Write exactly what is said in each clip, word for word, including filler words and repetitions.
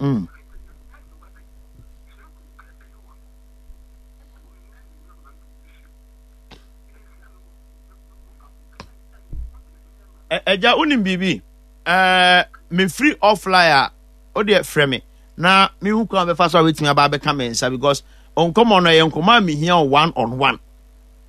Mm. Ɛgya, wonim biribi? Ɛɛ, mefiri offline a, wodeɛ frɛ me na mehu kwan bɛfa so a wobɛtumi aba abɛka me nsa, because nkɔmmɔ no ɛyɛ nkɔmmɔ a mehia wo one on one.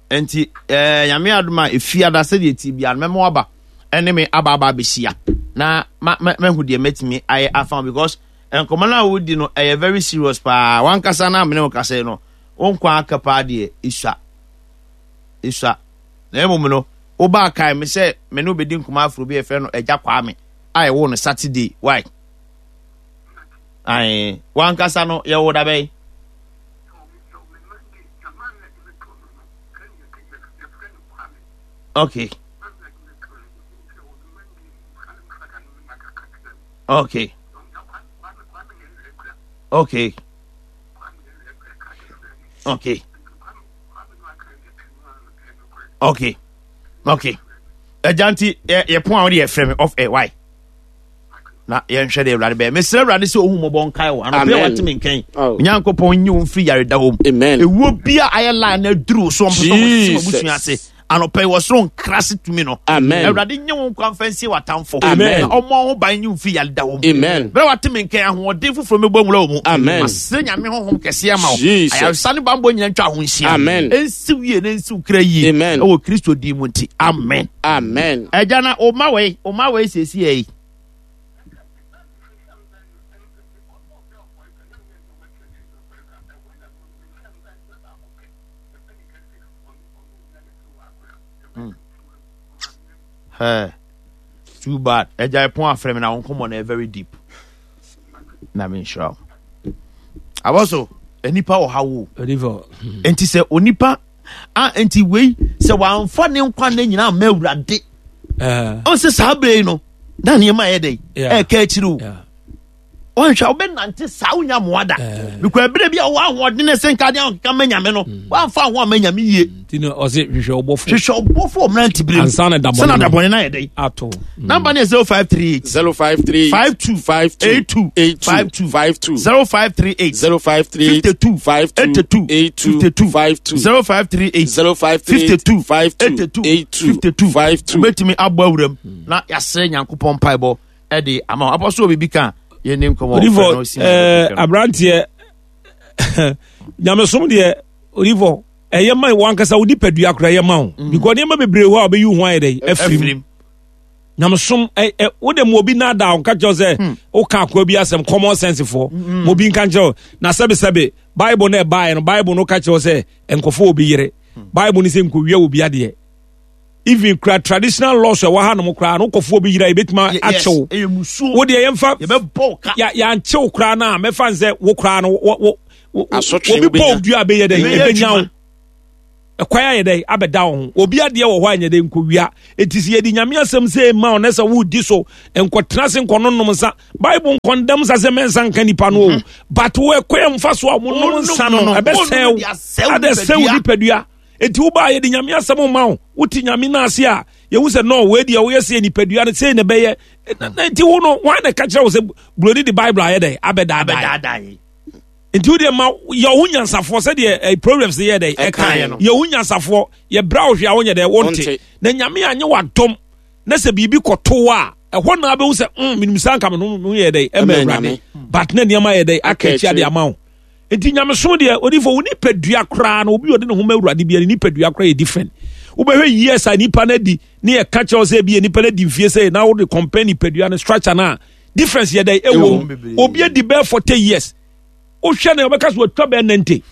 Nti ɛɛ, Nyame adom a, ɛfi ada sɛdeɛ ti bia no, mɛma waba ɛne me aba aba abɛhyia na ma ma mahu deɛ mɛtumi ayɛ afa wo, because nkɔmmɔ no a wodi no ɛyɛ very serious paa. Wankasa no a mene wo kasa yi no, wo nkwa aka paa deɛ, ɛsua ɛsua. Na mmom no, wobaa kae me sɛ me ne wobɛdi nkɔmmɔ aforo bi a yɛfrɛ no Agya Kwame a ɛwɔ no Saturday. Why? Ae, wankasa no yɛwo da bɛn? Okay. Okay. Okay. Okay. Okay. Okay. Agya, nti yɛ pon a wode yɛfrɛ me off air, why? Na yɛnhwɛ deɛ Awurade bɛyɛ. Mesrɛ Awurade sɛ ɔhu mmɔbɔ nkae wo anɔpɛ. Amen. Wate me nkɛn. Oh. Onyankopɔn nyi wo mfiri yareda hɔ mu. Amen. Ɛwuo bia ayɛ line na aduru wo so, ɔmpɛ sɛ ɔsisi Jesus. w'abusua ase anɔpɛ yi, wɔ soro nkra se tumi no. Amen. Awurade nye wo nkwa mfa nsie w'atamfo. Amen. Na ɔmmɔ wo ho ban, nyi wo mfiri yareda hɔ mu. Amen. Berɛ wate me nkɛn, ahoɔden foforɔ mɛbɔ nwura wɔ mu. Amen. Masrɛ Nyame honhom kɛseɛ ama wo. Jesus. Ayaresa ne bambɔ nyina ntwa ho nhyia. Amen. Ɛnsiw yie na ɛnsiw kra yie. Amen. Ɛwɔ Kristo din mu nti, amen. Amen. Ɛgya, na ɔma wei ɔma wei siesie yi. Mm. Hey, too bad. Ɛgya, ɛpon afrɛ me na wo nkɔmmɔ no yɛ very deep na menhyira wo. Abɔ so nipa wɔ ha wo. Odifo. Nti sɛ onipa a, nti wei sɛ wamfa ne nkwa ne nyinaa ma Awurade, Eh, ɔn sɛ saa bere yi no na nneɛma yɛ dɛ Yeah. ɛɛka akyiri o. yeah. Ɔnhwɛ a wobɛnante saa, wonya mmoa da, Eh. because ɛberɛ bi a wowɔ ahoɔden no sɛ nka de ahokeka ma Nyame no, woamfa ho amma Nyame yie. Nti no ɔse hwehwɛ ɔbɔfo. Hwehwɛ ɔbɔfo wɔ mmerante berɛ mu Ansa na dabɔne sɛ na no. dabɔne no ayɛ dɛn. Ato. Mm. Number no yɛ zero five three eight Zero five three five two five two eight two eight two five two five two zero five three eight zero five three eight fifty-two five two eighty-two eight two fifty-two five two zero five three eight zero five three eight fifty-two five two eighty-two eight two fifty-two five two. Wobɛtumi abɔ awuram na yɛasrɛ Nyankopɔn mpaebɔ ɛde ama wo. Apɔ so wɔ biribi ka a, yɛne nkɔmmɔ. Odifo, Frɛ no, si na eh, yɛbɛtwetwe no. Aberanteɛ, nyamesom deɛ, odifo, ɛyɛ ma wankasa wo nipadua koraa, ɛyɛ ma wo because nneɛma bebree hɔ a wobɛyi wo ho ayɛ dɛ afiri mu. Afirim. Nyamesom ɛ ɛ wode mu obi nada wo nka kyerɛ wo sɛ woka akoa bi asɛm, common sense foɔ ma obi nka nkyerɛ wo na sɛbesɛbe Bible no ɛbaeɛ no, Bible no ka kyerɛ wo sɛ nkɔfo obi yere, Bible no sɛ nkɔwia obi adeɛ, even kura traditional laws a ɛwɔ ha nom koraa no, wokɔfo obi yere a, yɛbɛtumi Ye- yes, akyew. Ɛyɛ musuo. Wo deɛ yɛmfa yɛbɛbɔ wo ka. ya yɛankyew koraa no a, mɛfa n sɛ wo koraa no wo- wo- wo- Asotwe obi bɔ wobɛnya. wo dua a, bɛyɛ dɛ Ɛbɛyɛ ɛbɛnya wo. adwuma. Ɛkwan ayɛ dɛ abɛda wo ho. Obi adeɛ wɔ hɔ a nyɛ dɛ nkɔwia. Ɛti sɛ yɛde Nyame asɛm sɛ ma wo na sɛ wodi so, nkɔtena se nkɔnonom nsa. Bible nkɔndam nsa sɛ mɛnsa nka nipa no o, but wo ɛkwan mfa so a monom nsa no no, ɛbɛsɛe wo. wonom de asɛe wo Adɛsɛe wo nipadua. Enti wobaa, yɛde Nyame asɛm ma wo, wote Nyame no ase a, yɛhu sɛ no wei deɛ woyɛ sɛ nipadua no sei na ɛbɛyɛ. Na- na nti wo no wan na ka kyerɛ wo sɛ buroni de Bible ayɛ dɛ abɛdaadaa? Abɛdaadae. Nti wo deɛ ma yɛ wo ho nyansafoɔ sɛdeɛ eh, Proverbs yɛ dɛ Ɛkaeɛ ɛkaeɛ no. no. Yɛ wo ho nyansafoɔ, yɛbrɛ wo hwee a wonyɛ dɛ wonte. Wonte. Na Nyame anyɛ w'adom na sɛ biribi kɔto wo a, ɛhɔ na wobɛhu sɛ mm, menim saa nka me ho ho yɛ dɛ ɛma Ɛma Awurade. Nyame. But na nneɛma yɛ dɛ aka Aka akyi ade akyire. ama wo. Nti nyamesom deɛ, odifo, wo nipadua koraa no, obi a ɔde ne ho ma Awurade bia ne nipadua koraa yɛ different. Wobɛhwɛ years a nipa no adi ne yɛka kyerɛ wo sɛ bi nipa no adi mfie sɛ na wode compare nipadua no structure no a, difference yɛ dɛ ɛwɔ mu. Obi adi bɛɛ forty years, wohwɛ no wobɛka so watwa bɛɛ ninety.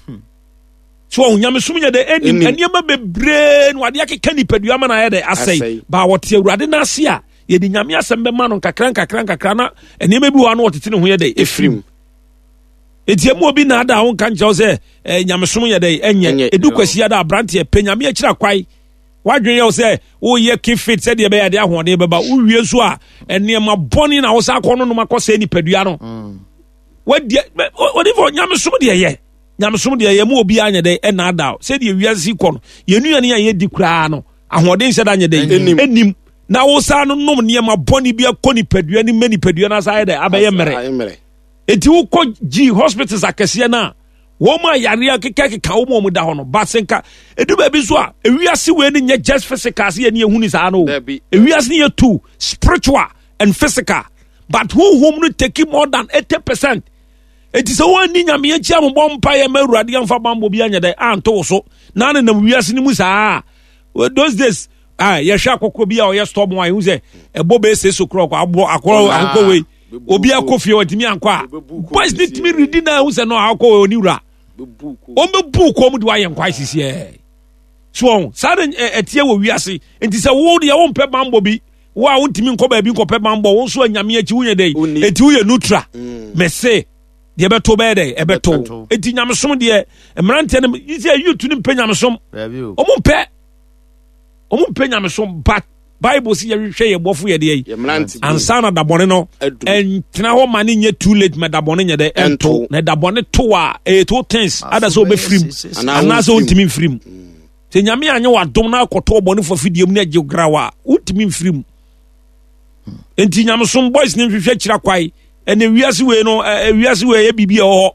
So ɔho nyamesom yɛ dɛ ɛnim Ɛnim. nneɛma bebree no adeɛ akeka nipadua ma no ayɛ dɛ asɛe. Asɛe. Baa wɔte Awurade no ase a, yɛde Nyame asɛm bɛma no nkakra nkakra nkakra na nneɛma bi wɔ hɔ a na wɔtete ne ho yɛ dɛ ɛfirim. Ɛfirim. Enti emu obi na ada a wonka nkyerɛ wo sɛ eh, nyamesom yɛ dɛ ɛnyɛ. Ɛnyɛ. Ɛdu Kwasia da, aberanteɛ pɛ Nyame akyiri akwae. Woadwene yɛ wo sɛ woyɛ keep fit sɛdeɛ ɛbɛyɛ ade ahoɔden bɛba. Wowie nso a, nneɛma bɔne na wo sa akɔ no nom akɔsɛe nipadua no. Wadi odifo, nyamesom deɛ yɛ nyamesom deɛ yɛ mu obiara nyɛ dɛ ɛna ada o. Sɛdeɛ wiase kɔ no, yɛn nnuane a yɛdi koraa no, ahoɔden hyɛ da nyɛ dɛ Ɛnim. ɛnim na wo saa no nom nneɛma bɔne bi akɔ nipadua no ma nipadua no asa ayɛ dɛ abɛyɛ mmerɛ. Ayɛ mmerɛ. Enti wokɔ G hospitals akɛseɛ no a, wɔn a yareɛ kekakeka wɔn a wɔn da hɔ no, baase nka edu baabi nso a, ewiase wei no nyɛ just physical se yɛ ne ehu ni saa no. Ewiase no yɛ two, spiritual and physical. But honhom no take more than eighty percent. Eti sɛ wɔn ani Nyame akyi amobɔ mpa yɛ ma Awurade amfa bambɔ bi anyɛ dɛ anto wo so na ne nam wiase no mu saa. Those days, ah, yɛhwɛ akɔkɔ bi a ɔyɛ stubborn a ehu sɛ ɛbɔ bɛyɛ six o'clock abɔ akɔrɔ akɔkɔ wei obi akɔ fie ɔntumi ankɔ a boys ne tumi redi na ehu sɛ no akɔ wei oni wura wɔn bɛ bu kɔn mu de wayɛ nkwa sisi ɛ so wɔn saa de ɛteɛ wɔ wiase. Nti sɛ wo deɛ wɔn mpɛ bambɔ bi, wo a wontumi nkɔ baabi nkɔpɛ bambɔ, wo nso anyame akyi wonyɛ dɛ, eti woyɛ neutral. Mɛse deɛ ɛbɛto bɛyɛ dɛ ɛbɛto. Eti nyamesom deɛ mmeranteɛ no yi sɛ youth no mpɛ nyamesom, wɔn mpɛ wɔn mpɛ nyamesom, but Bible si yɛhwehwɛ yɛ bɔfo yɛ deɛ yi ansa na dabɔne no ɛntena hɔ ma ne nyɛ too late ma dabɔne nyɛ dɛ ɛnto. Na dabɔne to a ɛyɛ two things, ada sɛ ɔbɛfirim anaasɛ ɔntumi mfirim. Sɛ Nyame anyɛ wadom na akɔtɔ ɔbɔnefo afidie mu na agye grawa a, wontumi mfirim. Nti nyamesom boys ne nhwehwɛ kyira kwae. Ɛnɛ wiase wei no, wiase wei ɛyɛ biribi a ɛwɔ hɔ.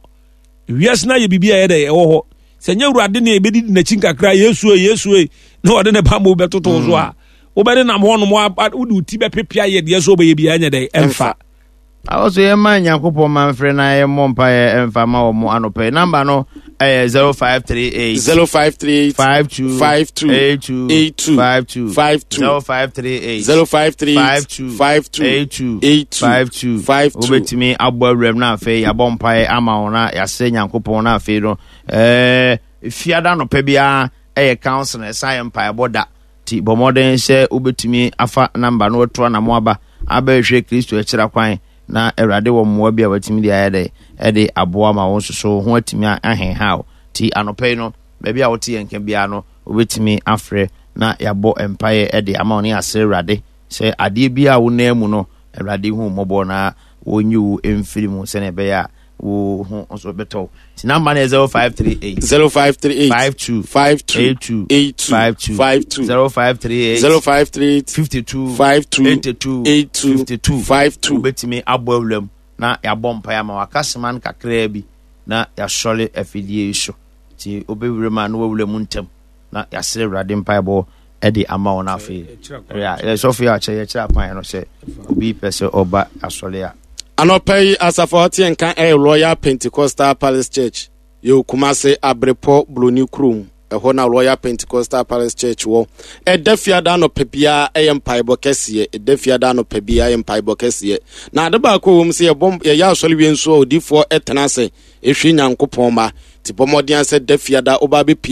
Wiase no ayɛ biribi a ɛyɛ dɛ ɛwɔ hɔ. Sɛ nyɛ Awurade ne ɛbɛdidi n'akyi nkakra, Yesu e, Yesu e, na ɔde ne bambɔ bɛtoto so a, wobɛde nam hɔ nom, wode wo ti bɛpepea yɛ deɛ sɛ wobɛyɛ biara nyɛ dɛ ɛmfa. Awɔ so yɛma Nyankopɔn ma mfrɛ na yɛmmɔ mpaeɛ ɛmfa ma wɔ mo anɔpɛ. Namba no ɛyɛ zero five three eight zero five three eight five two five two eight two eight two five two five two zero five three eight zero five three eight five two five two eight two eight two five two five two. Wobɛtumi abɔ awuram na afei yɛabɔ mpaeɛ ama wo na yɛasrɛ Nyankopɔn na afei no ɛɛ fiada anɔpɛ biara ɛyɛ council ɛsan yɛ mpaebɔ da. Ti bɔ mmɔden sɛ wobɛtumi afa namba no atu anamo aba abɛhwehwɛ Kristo akyira kwan na Awurade wɔ mmoa bi a watumi de ayɛ dɛ ɛde aboa ma wo nso so ho atumi ahenha wo. Ti anɔpɛ yi no, baabi a wote yɛn nka biara no, wobɛtumi afrɛ na yɛabɔ mpaeɛ ɛde ama wo ne yɛasrɛ Awurade sɛ adeɛ bi a wo nan mu no, Awurade hu mmɔbɔ na wɔnyi wo mfiri mu sɛnea ɛbɛyɛ a wo ho nso bɛtɔ wo. Ti namba no yɛ zero five three eight zero five three eight five two five two eight two eight two five two five two zero five three eight zero five three eight fifty two five two eighty two eight two fifty two five two. Wobɛtumi abɔ awuram na yɛabɔ mpaeɛ ama waka sema no kakraa bi na yɛasɔre afidie yi so. Nti wobɛwura mu a na wawura mu ntɛm na yɛasrɛ Awurade mpaebɔ ɛde ama wo no afei. Yɛsɔfo yɛ akyɛ yɛkyerɛ akwan no sɛ obi pɛ sɛ ɔba asɔre a. Anɔpa yi asafo a ɔte nka ɛyɛ Royal Pentecostal Palace Church. Yɛwɔ Kumase Abrepɔ Buroni kurom. Ɛhɔ na Royal Pentecostal Palace Church wɔ. Ɛda fiada anɔpa biara ɛyɛ mpaebɔ kɛseɛ. Ɛda fiada anɔpa biara ɛyɛ mpaebɔ kɛseɛ. Na ade baako wɔ mu sɛ yɛbɔ yɛyɛ asɔre wie nso a odiifoɔ ɛtena ase ehwɛ Nyankopɔn ma. Ti bɔ mmɔden sɛ da fiada ɔba abɛpie